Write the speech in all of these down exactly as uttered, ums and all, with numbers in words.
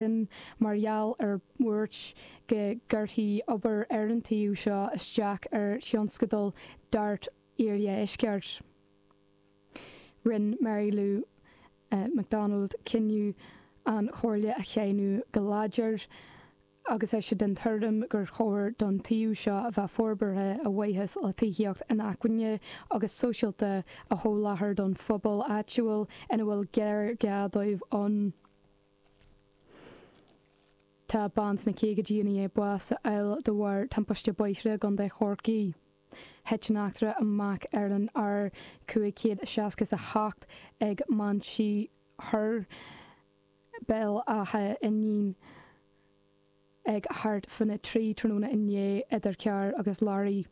mar gheall ar bhuairt go gcuirfí obair ar an tsuíomh seo isteach ar thionscadal DART Iardheisceart. Rinne Mary Lou McDonald cinneadh an chomhairle a cháineadh go láidir agus é den tuairim gur chóir don tsuíomh seo a bheith forbartha a mhaithe le tithíocht inacmhainne agus sóisialta a sholáthar don phobal áitiúil ina bhfuil géarghá dóibh ann. Tá bean sna caogaidí i ndiaidh bás a fháil de bharr timpiste bóithre i gContae Chorcaí. Thit an eachtra amach ar an R cúig chéad seasca is a hocht ag Mainsí Thoir, Béal Átha Fhínín ag thart faoina trí tráthnóna inné idir carr agus leoraí.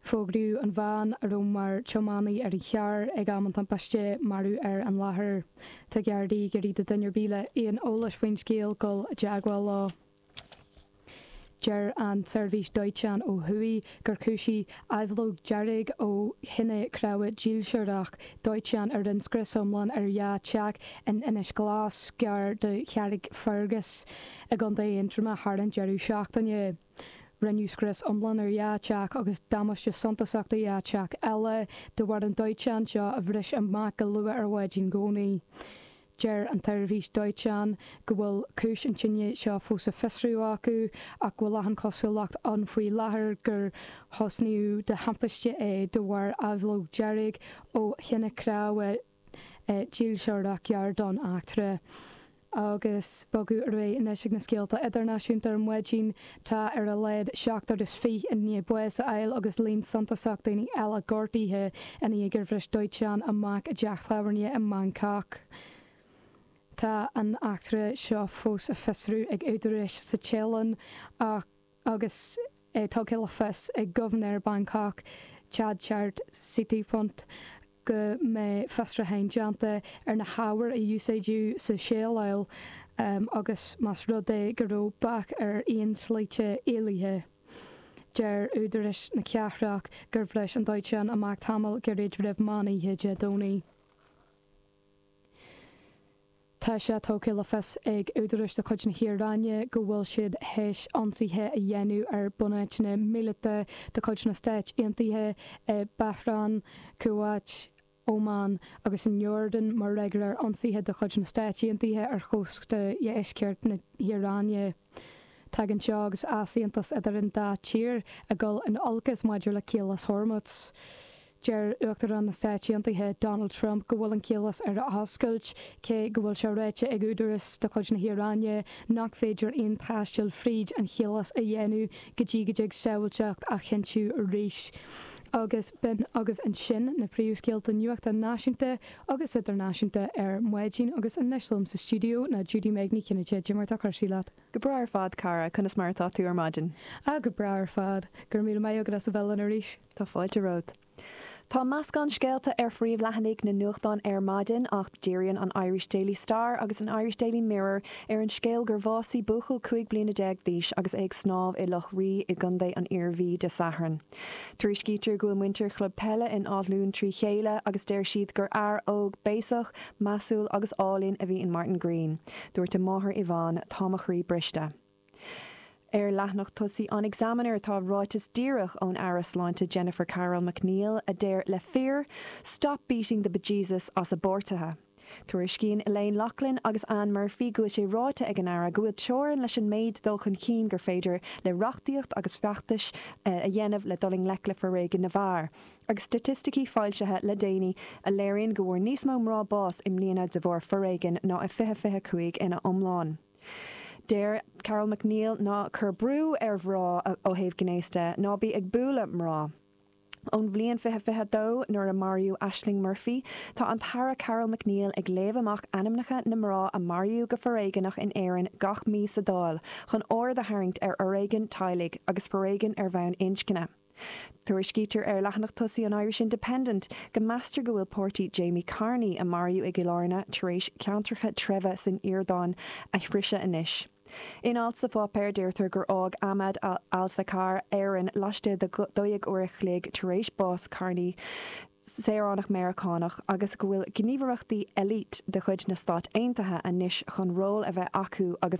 Fógraíodh an bhean, a raibh mar tiománaí ar an charr ag am an timpiste, marbh ar an láthair. Tá Gardaí ag iarraidh do dhuine ar bith le aon eolais faoin scéal dul i dteagmháil leo. Deir an tseirbhís dóiteáin ó thuaidh gur cúisíodh aibhleog dhearg ó thine chreamha dílseoireach dóiteáin a rinne scrios iomlán ar dhá theach in Inis Glas, gar do Charrickfergus i gContae Aontroma thar an deireadh seachtaine. Rinneadh scrios iomlán ar dhá theach agus damáiste suntasach do dhá theach eile de bharr an dóiteáin seo a bhris amach go luath ar mhaidin Dhomhnaigh. Deir an tseirbhís dóiteáin go bhfuil cúis an tine seo fós á fiosrú acu ach go bhfuil achan chosúlacht ann faoi láthair gur thosnaíodh de thimpiste é de bharr aibhleog dhearg ó thine chreamha dílseoireach gar don eachtra. Agus bogadh ar aghaidh anois ag na scéalta idirnáisiúnta ar maidin, tá ar a laghad seachtar is fiche i ndiaidh bás a fháil agus líon suntasach daoine eile gortaithe i ndiaidh gur bhris dóiteán amach i dteach tábhairne i mBangkok. Tá an eachtra seo fós á fiosrú ag údaráis sa Téalainn ach agus é tugtha le fios ag Gobharnóir Bangkok, Chadchart Sittipunt, go mbeidh fiosrúcháin déanta ar na hábhair a úsáideadh sa tséileáil agus más rud é go raibh bac ar aon slite éalaithe. Deir údaráis na cathrach gur bhris an dóiteán amach tamall gairid roimh meán oíche Dé Domhnaigh. Tá sé tugtha le fios ag údaráis de chuid na hIaráine go bhfuil siad théis ionsaithe a dhéanamh ar bunáiteanna míleata de chuid na Stáit Aontaithe i Bahrain, Kuwait, Óman agus an Iordáin mar fhreagra ar ionsaithe de chuid na Stáit Aontaithe ar chósta dheisceart na hIaráine. Tagann seo agus easaontas idir an dá tír ag dul in olcas maidir le Caolas Hormuz. Deir Uachtarán na Stáit Aontaithe Donald Trump go bhfuil an caolas ar oscailt, cé go bhfuil sé ráite ag údaráis de chuid na hIaráine nach féidir aon taisteal fríd an chaolas a dhéanamh go dtí go dtig sábháilteacht a chinntiú arís. Agus b'in agaibh ansin na príomhscéalta nuachta náisiúnta agus idirnáisiúnta ar maidin agus anois liom sa stiúideo ná Judy Meg Ní Chinnéide. Cad é mar atá cúrsaí leat? Go breá ar fad cara, conas mar atá tú ar maidin? Ah go breá ar fad, go raibh míle maith agat as a bheith linn arís. Tá fáilte romhat. Tá meascán scéalta ar phríomhleathanaigh na nuachtán ar maidin ach díríonn an Irish Daily Star agus an Irish Daily Mirror ar an scéal gur bhásaigh buachaill cúig bliana déag d'aois agus é ag snámh i Loch Rí i gContae an Iarmhí Dé Sathairn. Tuairiscítear go bhfuil muintir chlub peile in Áth Luain trí chéile agus deir siad gur fhear óg béasach, measúil agus álainn a bhí in Martin Green. Dúirt a máthair Yvonne, tá mo chroí briste. Ar leathanach tosaigh an Examiner tá ráiteas díreach ón Aire Sláinte Jennifer Carroll MacNeill a deir le fir, "Stop beating the bejesus as a bpáirtithe." Tuairiscíonn Elaine Loughlin agus Anne Murphy go bhfuil sé ráite ag an Aire go bhfuil teorainn leis an méid dul chun cinn gur féidir le reachtaíocht agus feachtais a dhéanamh le dul i ngleic le foréigean na bhfear, agus staitisticí foilsithe le déanaí a léiríonn go bhfuair níos mó mná bás i mbliana de bharr foréigin ná i fiche fiche cúig ina iomlán. Deir Carroll MacNeill ná cuir brú ar mhná ó thaobh gnéis de, ná bí ag bualadh mná. Ón bhliain fiche fiche dó nuair a maraíodh Ashling Murphy, tá an tAire Carroll MacNeill ag léamh amach ainmneacha na mná a maraíodh go foréigeanach in Éirinn gach mí sa Dáil chun aird a tharraingt ar fhoréigean teaghlaigh agus foréigean ar bhonn inscne. Tuairiscítear ar leathanach tosaigh an Irish Independent go meastar go bhfuil páirtí Jamie Carney a maraíodh i gCill Airne tar éis ceantracha treibhe san Iordáin a shroicheadh anois. In alt sa pháipéar deirtear gur fhág Ahmad al-Sakar Éirinn laistigh de dó dhéag uair a chloig tar éis bás Carney saoránach Meiriceánach agus go bhfuil gníomhaireachtaí elite de chuid na Stát Aontaithe anois chun ról a bheith acu agus